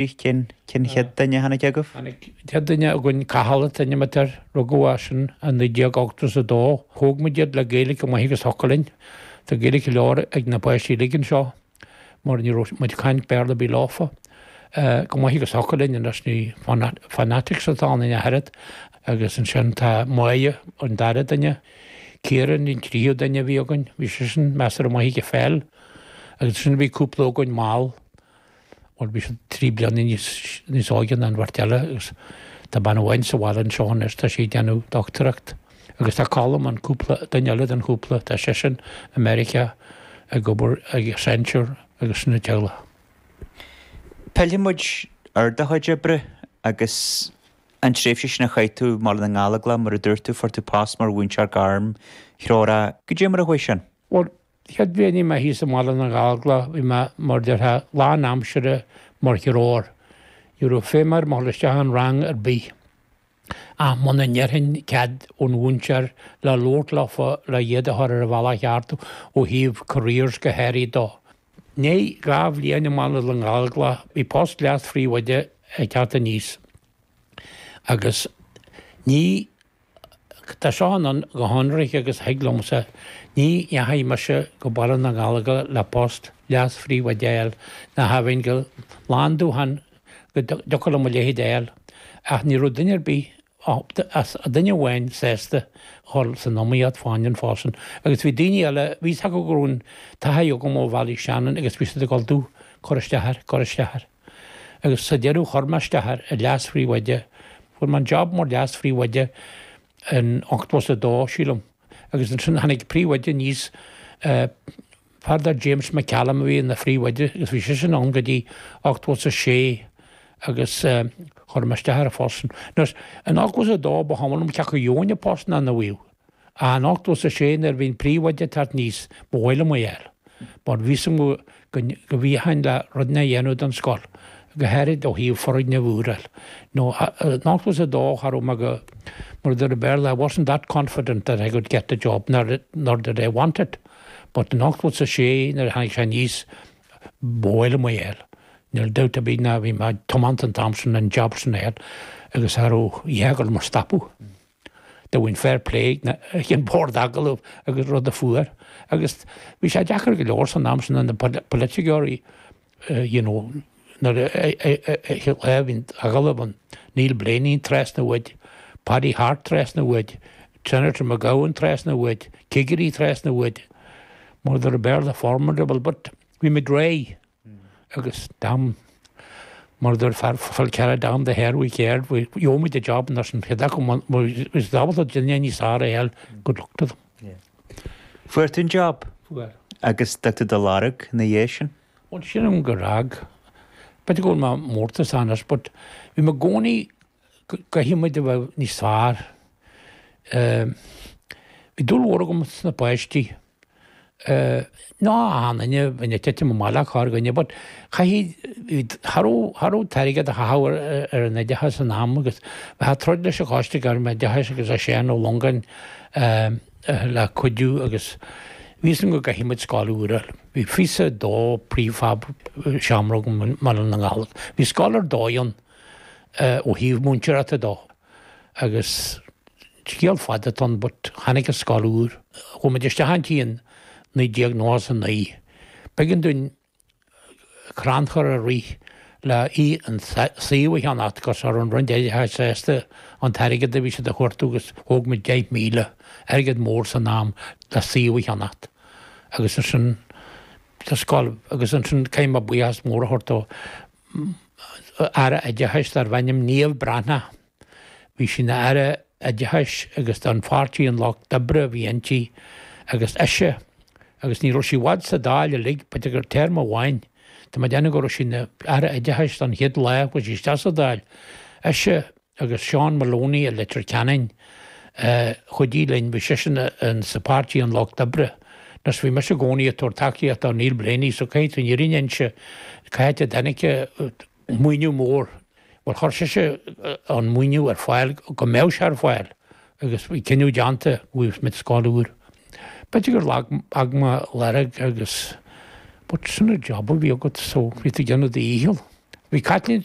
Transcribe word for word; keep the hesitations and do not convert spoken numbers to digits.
Cén cén chéad duine a tháinig agaibh? Tháinig chéad duine againn Cathal an t-ainm atá air, rugadh é sin i naoi déag ochtó is a dó. Thóg muid iad le Gaeilge go maith agus thiocfadh linn. Tá Gaeilge go leor ag na páistí uilig anseo mar ní raibh muid ag caint Béarla ar bith leofa. Go maith agus thiocfadh linn anois ní fanatics atá ann ach oiread. Agus ansin tá Máire an dara duine, Ciarán an tríú duine a bhí againn, bhí seisean measartha maith ag peil. Agus ansin bhí cúpla againn mall. Bhuel bhí siad trí bliana níos níos óige ná an bheirt eile agus tá bean amháin sa bhaile anseo anois, tá sí ag déanamh dochtúireacht. Agus tá Colm an cúpla duine eile den chúpla, tá seisean i Meiriceá ag obair ag Accenture agus sin an teaghlach. Pillfidh muid ar do chuid oibre agus an tréimhse sin a chaith tú i mBaile na nGallóglach, mar a dúirt tú, fuair tú post mar mhúinteoir gairmthreorach. Goidé mar a chuaigh sin? Bhuel, chéad bhliain a bhí mé thíos i mBaile na nGallóglach, bhí mé mar déarfá lán aimsire mar threoir. Ní raibh feidhm orm a dhul isteach in rang ar bith. Ach muna ndéarfainn cead ón mhúinteoir le labhairt leofa le iad a chur ar an bhealach cheart ó thaobh careers go háirid dó. I ndiaidh dhá bhliain i mBaile na nGallóglach, bhí post leas-phríomhoide ag teacht aníos. Agus ní, tá seo ann go hionraic agus thig liomsa, ní dheachaigh mise go Baile na nGallóglach le post leas-phríomhoide a fháil, ná cha bheinn go lán-dúchan go dtiocfadh liom a leithéid a fháil. Ach ní raibh duine ar bith, as duine amháin sásta dhul san iomaíocht fá choinne an phost sin. Agus bhí daoine eile, bhí fhios acu go raibh an taithí agam ó Bhaile Shannon agus bhí siad ag dul do cur isteach air, cur isteach air. Agus sa deireadh chuir mé isteach air i leas-phríomhoide. Fuair mé an job mar leas-phríomhoide in ochtó is a dó, sílim. Agus ansin tháinig príomhoide aníos, fear dar James McCallum a bhí ina phríomhoide agus bhí seisean ann go dtí ochtó is a sé agus chuir mé isteach ar an phost sin. Anois, in ochtó is a dó ba chuma liom cé acu gheobhainn an post ná nach bhfaigheadh. Ach in ochtó is a sé nuair a bhí an príomhoide ag teacht aníos, ba mhaith liom é a fháil. Mar bhí fhios agam go go bhféadfainn le rudaí a dhéanamh don scoil, go háirid ó thaobh foirgneamh úr a fháil. Nó in ochtó is a dó cha raibh mé go, mar a deir an Béarla, I wasn't that confident that I could get the job, nor, nor did I want it. But in ochtó is a sé nuair a tháinig sé aníos, ba mhaith liom é a fháil. Níl dabht ar bith ná bhí mé tiomanta an t-am sin an job sin a fháil agus cha raibh a dhath ag dul mo stopadh. Do bhain fair play ag an bord agallaimh agus rud a fuair. Agus bhí sé deacair go leor san am sin na polaiteoirí you know, nuair a bhí agallamh an Neil Blaney trasna uaidh, Paddy Hart trasna uaidh, Senator McGowan trasna uaidh, cigirí trasna uaidh, mar a deir an Béarla formidable, but bhí muid réidh agus damn mar a deir fear Phil Carr damn the hare we cared, gheobhaidh muid an job anois an chéad acu is ábalta duine níos fearr a fháil, good luck to them. Fuair tú an job? Fuair. Agus d'fhág tú do lorg ina dhiaidh sin? Bhuel sílim gur fhág. B'fhéidir go bhfuil mé mórtasach anois, but bhí mé i gcónaí go gcaithfidh muid a bheith níos fearr. Bhí dúil mhór agam sna páistí. Ná achan duine, bhí ag titim amach le corrdhuine, but chaithfidh, cha raibh, cha raibh t-airgead a chaitheamh ar an oideachas san am agus bheifeá ag troid leis an Choiste Gairmoideachais agus le Seán Ó Longáin le cuidiú agus bhí fhios agam go gcaithfidh muid scoil úr a fháil. Bhí fiche a dó príomhsheomra agam i mBaile na nGallóglach. Bhí scoil ar dóigh ann ó thaobh múinteoireachta dó agus scéal fada atá ann but tháinig an scoil úr. Chuaigh muid isteach inti in naoi déag nócha is a naoi. B'éigean dúinn crannchur a rith le í an suíomh a cheannacht agus ar an Roinn Oideachais sásta an t-airgead a bhí siad a thabhairt agus thóg muid deich míle airgead mór san am le suíomh a cheannacht. Agus ansin sa scoil agus ansin caithfidh mé buíochas mór a thabhairt do Aire Oideachais darb ainm Niamh Breathnach. Bhí sí ina Aire Oideachais agus don pháirtí an Lucht Oibre a bhí inti agus ise agus ní raibh sí i bhfad sa Dáil uilig, b'fhéidir gur téarma amháin. Tá mé ag déanamh go raibh sí ina Aire Oideachais don chéad lá a chuaigh sí isteach sa Dáil. Ise agus Seán Maloney i Leitir Ceanainn chuidigh linn, bhí seisean sa pháirtí an Lucht Oibre. Anois bhí mise i gcónaí ag tabhairt tacaíocht do Neil Blaney, so caithfidh tú an fhírinne a inse, caithfidh a dtáinig maoiniú mór. Bhuel chuir sise an maoiniú ar fáil go mbeadh sé ar fáil agus bhí cinneadh déanta go bhfuil muid scoil úr. B'fhéidir gur fhág mé lorg agus but sin an job a bhí agat so bhí tú ag déanamh do dhícheall. Bhí Caitlín